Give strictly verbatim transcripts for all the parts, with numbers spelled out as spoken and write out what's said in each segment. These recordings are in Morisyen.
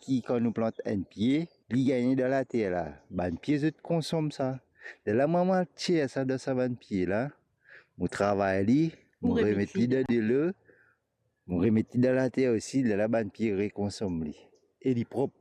ki kan nou plant enn pie, li gagne dan later la, bann pie zot konsom sa. Lerla mwa, mo al tir sa dan sa bann pie la, mo travay li, mo remet li dan delo, mo remet li dan later osi, lerla bann pie rekonsom li. E li prop.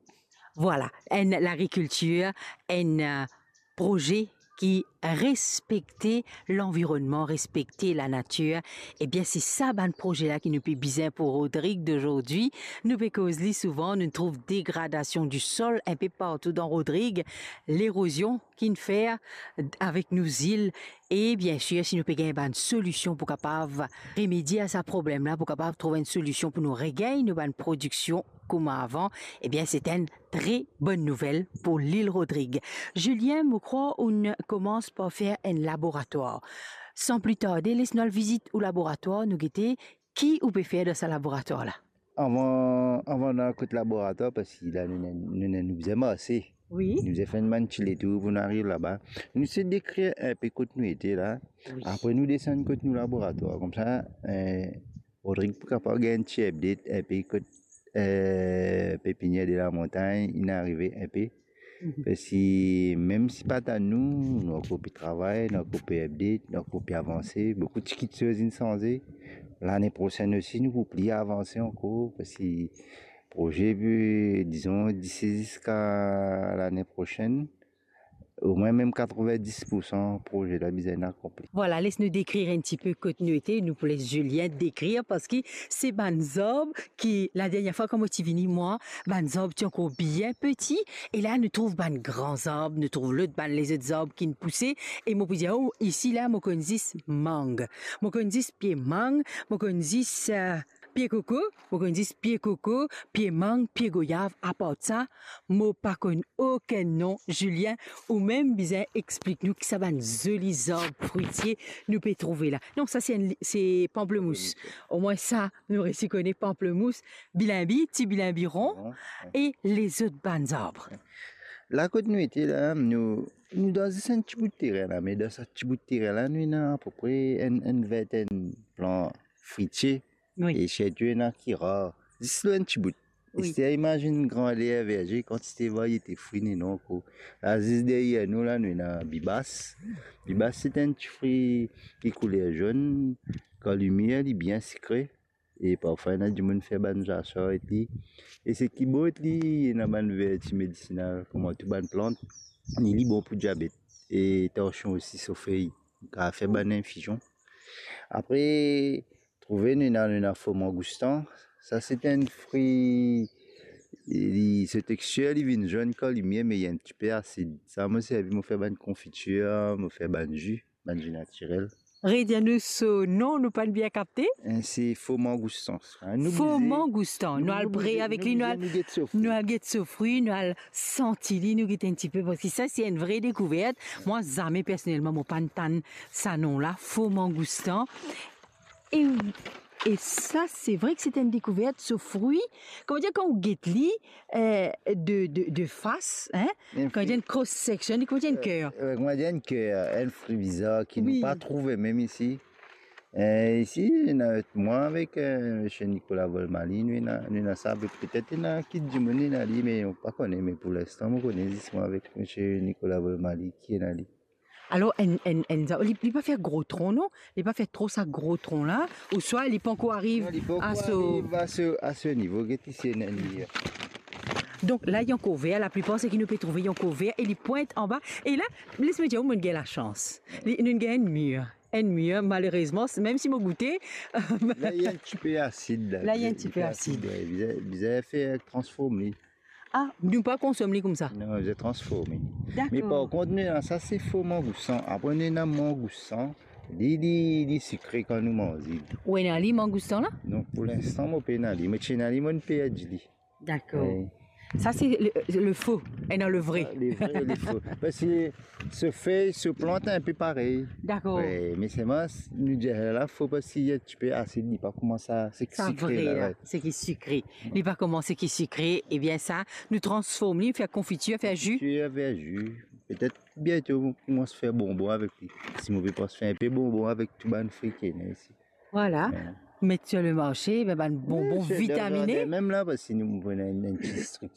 Vwala, enn lagrikiltir, enn, eh, proze ki respekte lanvironnman, respekte lanatir. Ebien, se sa bann proze la ki nou pe bizin pou Rodrig dozordi. Nou pe koz li souvan, nou trouv degradasion di sol enpe partou dan Rodrig, lerozion ki'nn fer avek nou zil. E biensir, si nou pe gagn bann solision pou kapav remedie a sa problem la, pou kapav trouv enn solision pou nou regagn nou bann prodiksion kouma avan, ebien, se enn tre bonn nouvel pou Lil Rodrig. Julien, mo krwar ou'nn komans par fer enn laboratwar. San pli tarde, les nou al vizit ou laboratwar, nou gete ki ou pe fer dan sa laboratwar la. Avan, avan nou al kot laboratwar, parski la nou, nou, nou, nou bizin marse. Wi. Nou bizin fer enn bann ti letour pou nou ariv laba. Nou sey dekrir enpe kot nou ete la. Wi. Apre nou desann kot nou laboratwar. Koumsa, eh, Rodrig pou kapav gagn enn ti update enpe kot, eh, pepinier de la montagne, inn arive enpe. Mhm. Parski mem si pa ta nou, nou ankor pe travay, nou ankor pe update, nou ankor pe avanse. Boukou ti kiksoz inn sanze. Lane prosenn osi, nou pou pli avanse ankor, parski proze pe, dizon, disi ziska lane prosenn, omwin mem katrovin-dis poursan proze la bizin akonpli. Vwala, les nou dekrir enn tipe kot nou ete, nou pou les Julien dekrir, parski se bann zarb ki, ladernie fwa kan mo ti vini, mwa, bann zarb ti ankor bien peti, e la nou trouv bann gran zarb, nou trouv lot bann lezot zarb ki'nn pouse, e mo pou dir, oh, isi la, mo konn zis mang. Mo konn zis pie mang, mo konn zis, eh, pie koko, mo konn zis pie koko, pie mang, pie goyav, apar sa, mo pa konn okenn non. Julien, ou mem bizin explik nou ki sa bann zoli zarb fritie nou pe trouve la. Non, sa se enn li-, se panplemous. Omwin sa, nou resi kone panplemous, bilinbi, ti bilinbi ron, ron, wi, e lezot bann zarb. La kot nou ete la, nou, nou dan zis enn ti bout terin la, me dan sa ti bout terin la, nou ena apepre enn, enn vintenn plan fritie. Wi. E sirtou ena ki rar. Zis lor enn ti bout. Wi. Ester imazinn grander verze, kantite variete fri nou ena ankor. La, zis deryer nou la, nou ena bibas. Bibas, se enn ti fri ki kouler zonn. Kan li mir, li bien sikre. E parfwa, ena dimoun fer bann zasar ek li. E seki bon ek li, ena bann verti medisinal, kouma tou bann plant, ni li bon pou diabet e tansion osi, so fey, kapav fer bann infizion. Apre, trouve nou ena, nou ena fo mangoustan. Sa se enn fri, li, so textir, li vinn zonn kan li mir, me li enn tipe asid. Sa mo servi, mo fer bann konfitir, mo fer bann zi, bann zi natirel. Redir nou so non, nou pa'nn bien kapte. Eh, se fo mangoustan. Hein, nou blize, fo mangoustan. Nou al pre avek li, nou al, nou get so fri, nou al santi li, nou get enn tipe, parski sa se enn vre dekouvert. Mwa, zame personelman, mo pa'nn tann sa non la, fo mangoustan. E, e sa, se vre ki se enn dekouvert, so fri. Kouma dir, kan ou get li, eh, de, de, de fas, hein, kan dir enn cross section, li kouma dir enn ker. Eh, kouma dir enn ker, enn fri bizar ki nou pa trouve mem isi. Eh, isi, ena mwa avek, eh, misie Nicolas Volmaly, nou ena, nou ena sa, petet ena ki dimoun ena li, me nou pa kone, me pou linstan, mo kone zis mwa avek misie Nicolas Volmaly ki ena li. Alor, enn, enn, enn, li, li pa fer gro tron, non? Li pa fer tro sa gro tron la, ouswa li pankor ariv a so, non, li pankor ariv a so, a so nivo, get isi enn, enn li. Donk la, li ankor ver, laplipar seki nou pe trouve, li ankor ver, e li pwint anba. E la, les mo dir ou, mo'nn gagn lasans. Li, nou'nn gagn enn mir. Enn mir, malerezman, mem si mo goute. La, li enn tipe asid, la. La, li enn tipe asid. Bizin, bizin fer transform li. Ah, nou pa konsom li koumsa? Non, bizin transform li. Dakor. Me par kont, nou ena sa, se fo mangoustan. Apre, nou ena mangoustan. Li, li, li sikre kan nou manze li. Ou ena li, mangoustan la? Non, pou linstan, mo pena li. Me si ena li, mo'nn perdi li. Dakor. Wi. Sa, se le, le fo, e non le vre. Ah, le vre, le fo. Parski so fey, so plant, enpe parey. Dakor. Wi, me selman, nou dir la fo parski li enn tipe asid, li pa koumans a, seki sikre la, wi. Seki sikre. Li pa koumans seki sikre, ebien sa, nou transform li, fer konfitir, fer zi. Konfitir, fer zi. Petet biento, mo koumans fer bonbon avek li. Si mo pe pans fer enpe bonbon avek tou bann fri ki ena isi. Vwala. Wi. Met sir le marse, be, bann bonbon vitamine. Wi, sir le marse mem la, parski nou, nou ena enn, enn ti striktir.